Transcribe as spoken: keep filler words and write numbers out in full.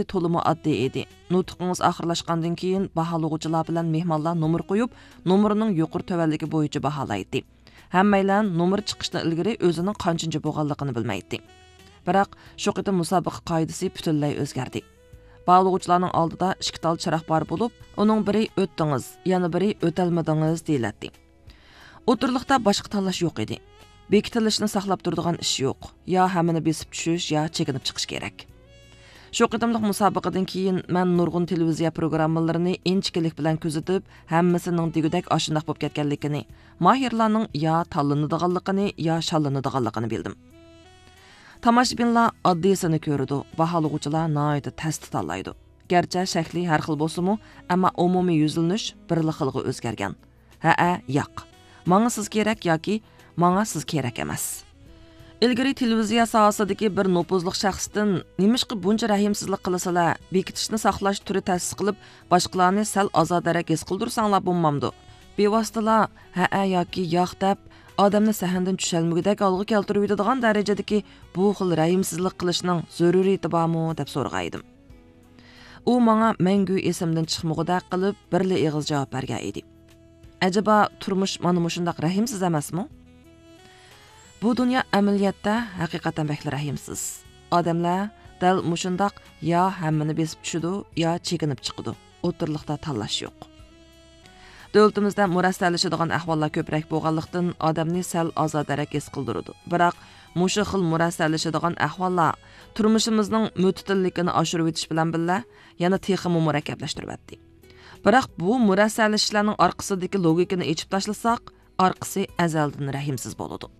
تولىمۇ ئاددىي ئىدى. نۇتقىڭىز ئاخىرلاشقاندىن كېيىن، باھالىغۇچىلار بىلەن مېھمانلار نومۇر قويۇپ، نومۇرنىڭ يۇقىرى تۆۋەنلىكى بويىچە باھالايتتى. ھەممەيلەن نومۇر چىقىشتىن ئىلگىرى ئۆزىنىڭ قانچىنچى بولغانلىقىنى بىلمەيتتى. بىراق، شۇ قېتىم مۇسابىقە قائىدىسى پۈتۈنلەي ئۆزگەردى. باھالىغۇچىلارنىڭ ئالدىدا ئىككى تال چىراغ بار بولۇپ، ئۇنىڭ بىرى «ئۆتتىڭىز»، يەنە بىرى «ئۆتەلمىدىڭىز» دېيىلەتتى. ئوتتۇرىلىقتا باشقا تاللاش يوق ئىدى. بېكىتىلىشنى ساقلاپ تۇرىدىغان ئىش يوق. يا ھەممىنى بېسىپ چۈشۈش، يا چېكىنىپ چىقىش كېرەك. شۇ قېتىملىق مۇسابىقىدىن كېيىن مەن نۇرغۇن تېلېۋىزىيە پروگراممىلىرىنى ئىنچىكىلىك بىلەن كۆزىتىپ، ھەممىسىنىڭ دېگۈدەك ئاشۇنداق بولۇپ كەتكەنلىكىنى، ماھىرلارنىڭ يا تاللىنىدىغانلىقىنى، يا شاللىنىدىغانلىقىنى بىلدىم. تاماشىبىنلار ئاددىيسىنى كۆرىدۇ، باھالىغۇچىلار ناھايىتى تەستە تاللايدۇ. گەرچە شەكلى ھەر خىل بولسىمۇ، ئەمما ئومۇمىي يۈزلىنىش بىرلا خىلغا ئۆزگەرگەن. ھەئە، ياق. ماڭا سىز كېرەك ياكى ماڭا سىز كېرەك ئەمەس. ئىلگىرى تېلېۋىزىيە ساھەسىدىكى بىر نوپۇزلۇق شەخستىن «نېمىشقا بۇنچە رەھىمسىزلىك قىلىسىلەر؟ بېكىتىشنى ساقلاش تۈرى تەسىس قىلىپ، باشقىلارنى سەل ئازادىراق ھېس قىلدۇرساڭلار بولمامدۇ؟» بىۋاسىتىلا «ھەئە» ياكى «ياق» دەپ، ئادەمنى سەھنىدىن چۈشەلمىگۈدەك ھالغا كەلتۈرۈۋېتىدىغان دەرىجىدىكى بۇ خىل رەھىمسىزلىك قىلىشنىڭ زۆرۈرىيىتى بارمۇ؟ دەپ سورىغان ئىدىم. ئۇ ماڭا مەڭگۈ ئېسىمدىن چىقمىغۇدەك قىلىپ، بىرلا ئېغىز جاۋاب بەرگەن ئىدى. ئەجەبا، تۇرمۇش مانا مۇشۇنداق رەھىمسىز ئەمەسمۇ؟ بۇ دۇنيا ئەمەلىيەتتە ھەقىقەتەن بەكلا رەھىمسىز. ئادەملەر دەل مۇشۇنداق يا ھەممىنى بېسىپ چۈشىدۇ، يا چېكىنىپ چىقىدۇ. ئوتتۇرىلىقتا تاللاش يوق. دۆلىتىمىزدە مۇرەسسەلىشىدىغان ئەھۋاللار كۆپرەك بولغانلىقتىن، ئادەمنى سەل ئازادىرەك ھېس قىلدۇرىدۇ. بىراق، مۇشۇ خىل مۇرەسسەلىشىدىغان ئەھۋاللار تۇرمۇشىمىزنىڭ مۆتىدىللىكىنى ئاشۇرۇۋېتىش بىلەن بىللە، يەنە تېخىمۇ مۇرەككەپلەشتۈرۈۋەتتى. بىراق، بۇ مۇرەسسەلىشىشلەرنىڭ ئارقىسىدىكى لوگىكىنى ئېچىپ تاشلىساق، ئارقىسى ئەزەلدىن رەھىمسىز بولىدۇ.